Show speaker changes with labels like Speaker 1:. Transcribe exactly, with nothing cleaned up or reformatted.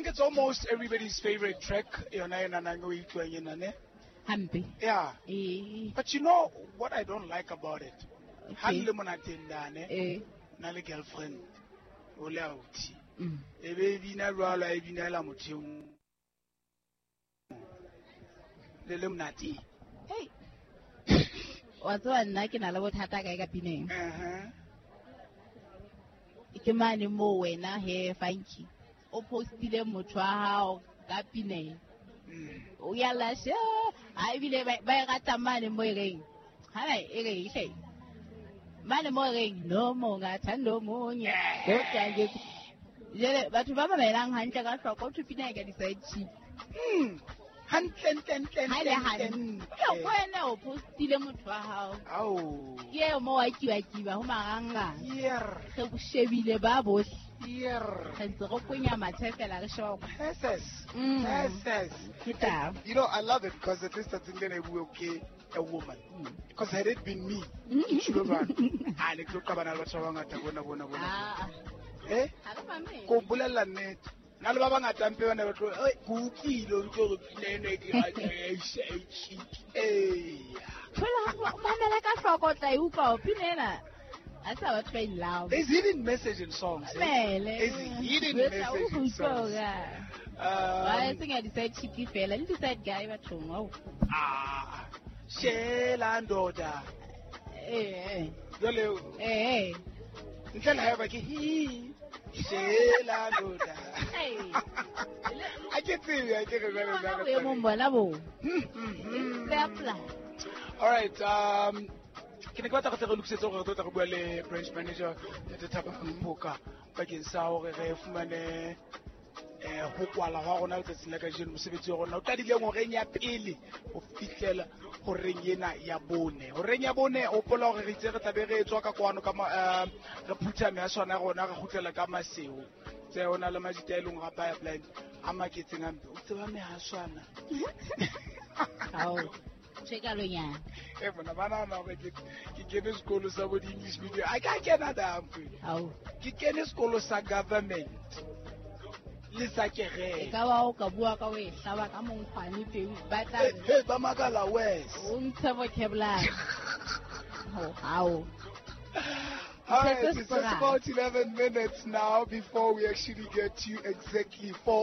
Speaker 1: it's almost everybody's favorite track. Yona ena nang o e utlwang ena, ne?
Speaker 2: Hampe.
Speaker 1: Yeah.
Speaker 2: Eh.
Speaker 1: But you know what I don't like about it? Ha
Speaker 2: Okay.
Speaker 1: le monateng dane,
Speaker 2: Eh.
Speaker 1: na le girlfriend, o le authi.
Speaker 2: Mm.
Speaker 1: E be e bina jwalo, a e binela motho e mong. Le le monateng.
Speaker 2: Hey. Wa tseba nna ke na le bothata kae ka pineng?
Speaker 1: Uh-huh.
Speaker 2: Ke mane moo wena he Funky o postile motho wa hao ka pineng.
Speaker 1: Mm.
Speaker 2: O ya lashe ha ebile ba ba e rata mane mo e reng. Ha ba e reng hle. Mane mo e reng no mongathanda omunye. Kodwa nje jele batho ba mamelang hantle ka hloko o thwe pina e ka di-side chick.
Speaker 1: Mm. Hantle, ntle, ntle,
Speaker 2: Ha e le
Speaker 1: ntle,
Speaker 2: hantle.
Speaker 1: ntle.
Speaker 2: Ke wena o postile motho wa hao.
Speaker 1: Ao.
Speaker 2: Ke eo mo wa kiba-kiba ho marangrang.
Speaker 1: Yer.
Speaker 2: Re o shebile ba bohle.
Speaker 1: Yer.
Speaker 2: Re ntse re kwenya mathe fela re sheba hore
Speaker 1: Yes.
Speaker 2: Mm.
Speaker 1: Yes.
Speaker 2: Ke taba.
Speaker 1: You know, I love it because at least I think then I will okay a woman. Because had it been me,
Speaker 2: Mm.
Speaker 1: ke tjho jwang? Ah, ne ke tlo qabana le batho ba bangata bona, bona, bona.
Speaker 2: Ah.
Speaker 1: Eh?
Speaker 2: Ha re mamele.
Speaker 1: Ko bolella nnete. Nna le ba bangata mpe ba ne ba tlo, "Oi, ke utlwile, o utlwe hore pina ena e ke rata, eh, side chick." Eh.
Speaker 2: Thola ha o mamela ka hloko o tla e utlwa hore pina ena ha se batho ba in love.
Speaker 1: There's hidden message in songs. Eh?
Speaker 2: Mamele.
Speaker 1: There's hidden
Speaker 2: Jwetsa o
Speaker 1: message in
Speaker 2: utlwe
Speaker 1: songs.
Speaker 2: hore,
Speaker 1: Um,
Speaker 2: ba e seng ya di-side chick fela, le di-side guy bathong, ao.
Speaker 1: Ah, shela ndoda.
Speaker 2: Eh, eh.
Speaker 1: Jwale,
Speaker 2: Eh, eh.
Speaker 1: ntle le haeba ke hi, shela ndoda.
Speaker 2: Hey.
Speaker 1: Ha ke tsebe, ha ke re jwale
Speaker 2: Bona
Speaker 1: jwale.
Speaker 2: boemong bona bo.
Speaker 1: Hmm, hmm, hmm.
Speaker 2: Pepla.
Speaker 1: All right, um, ke ne ke batla go tle re lokisetse gore re tlo tla re bua le branch manager Ntate Thabang Mpoka bakeng sa hore re fumane eh ho kwala hwa rona letsatsing la kajeno mosebetsi wa rona o qadileng horeng ya pele ho fihlela horeng ena ya bone. Horeng ya bone hopola hore re itse re tla be re tswa ka kwano ka ma-, eh, re phutha mehaswana ya rona re kgutlela ka Maseo. Tse ho na le majita e leng hore a pipeline a maketseng hampe. O tseba mehaswana.
Speaker 2: Ao. Tjhe ka lonyana.
Speaker 1: Eh, bona ba nahana hore ke, ke kene sekolo sa bo di-English medium. Ha ke a kena dampe.
Speaker 2: Ao.
Speaker 1: Ke kene sekolo sa government le sa kereke.
Speaker 2: E ka ba o ka bua ka o e hlaba ka monkgwane teng, ba tla
Speaker 1: Eh, eh, ba makala wes.
Speaker 2: O ntshe vocabulary. Ho, hao.
Speaker 1: All right,
Speaker 2: This is
Speaker 1: it's just
Speaker 2: Quran.
Speaker 1: about eleven minutes now before we actually get to exactly four